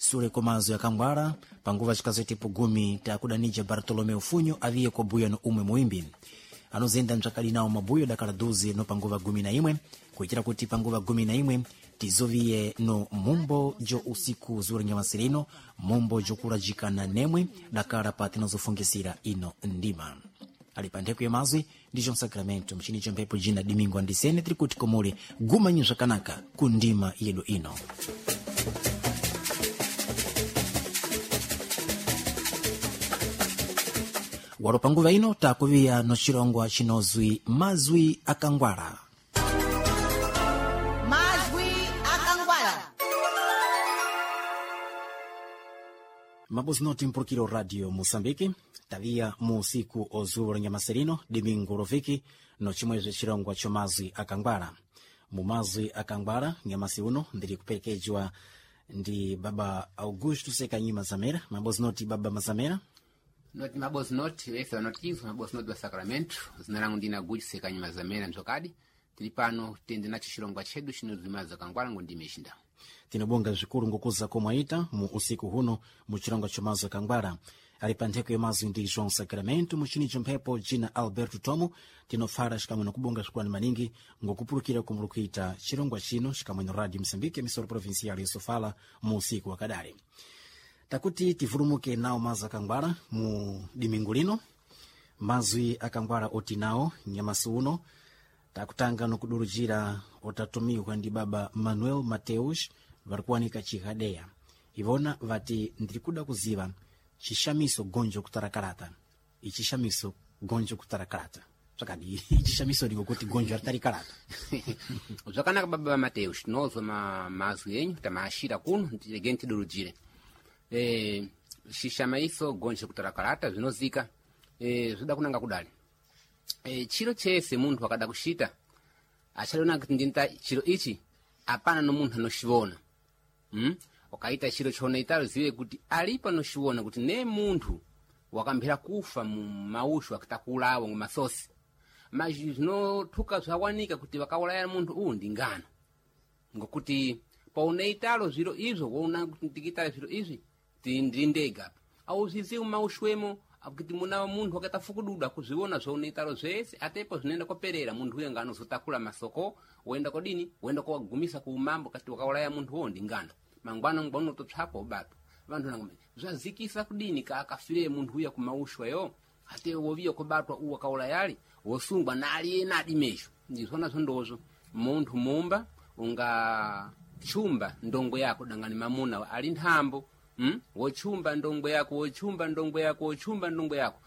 Sule komazo yakangwala panguva chikazoitepo gumi takudanija Bartolomeu Funyo aviye kwa buya no umwe muimbi anozenda mtsvakadi nawo mabuyo dakala duzi no panguva 11 kuitira kuti panguva 11 tizoviye no mumbo jo usiku zuri nyamasirino mumbo jokulajikana nemwe dakala pa tinozofungisira ino ndima ali pa ntheko ya mazwi ndicho msakramento mchinicho mphepo jina Domingo Andisene tiri kuti komuli gumanyi zvakanaka ku ndima yedu ino. Walo panguva ino takuviya no chirongwa chinozwi mazwi akangwala. Mazwi akangwala. Mabuzi noti mpulukiro Radio Moçambique taviya mu usiku ozulo la nyamaserino domingo loviki no chimwezwe chirongwa cho mazwi akangwala. Mu mazwi akangwala nyamasi uno ndiri kuperekejwa ndi baba Augusto Sekanyima Zamera. Mabozi noti baba Mazamera. Noti mabozi noti vese vanotizwa mabozi noti va Sacramento. Zina langu ndina Guji Sekanyima Zamera mzokadi. Tili pano tende nacho chirongwa chedu chinozwi mazwi akangwala ngo ndime ixinda. Tinobonga zvikulu ngokuza komwaita mu usiku huno mu chirongwa cho mazwi akangwala. Ali pa ntheko ya mazwi ndi João Sacramento muchinicho mphepo jina Alberto Tomo. Tinofara xikamwe nokubonga swikulani maningi ngokupulukira kumuli kuita chirongwa chino xikamwe no Radio Moçambique emissora provincial ya Sofala mu usiku wakadali. Takuti tivulumuke nawo mazwi akangwala mu dimingu lino. Mazwi akangwala oti nawo nyamasi uno takutanga nokudurujira otatumiwa ndi baba Manuel Mateus vari kuwanika chihadeya. Ivona vati ndiri kuda kuziva chishamiso gonjo kutarakarata. Ichishamiso gonjo kutarakarata zvakadi ichishamiso ndiko kuti gonjo ritarikarata. Zvakanaka baba va Mateus, tinozwa mazwi enyu tamaashira kuno regeni tidurujire. Xixamaiso gonjo kutarakarata zvinozika zvoda kunanga kudali. Chiro chese munthu akada kuxita achadona kuti ndinta chiro ichi apana no munthu anoxivona. Ukaita chiro chonaitalo ziwe kuti alipo anoxiwona kuti ne munthu wakamphera kufa mu mauxo akitakulawo ngo masosi mas zvinothuka zvawanika kuti vakaulaya munthu uwu ndi ngano ngokuti paunaitalo zviro izvo woona kuti ndikitale zviro izvi ndiri ndega auzvizivi mauxwemo kuti muna munthu wakaita fukududu akuzviona zvaunoitalo zvese atepo zvinoenda koperera munthu uyo nganozotakula masoko woenda kodini woenda kowagumisa ku umambo kati wakaulaya munthu uwo ndi ngano mangwana ngwana unototsvakwa ubatwa vanthu nangome zvazikisa kudini kaakafire munthu uya kumaushwa yo ate woviya kubatwa uwo wakaulayali wosungwa nali adimesho ndizvona zvondozvo munthu mumba unga chumba ndongo yako dangani mamuna ali nthambo. Wochumba ndongo yako wochumba ndongo yako wochumba ndongo yako.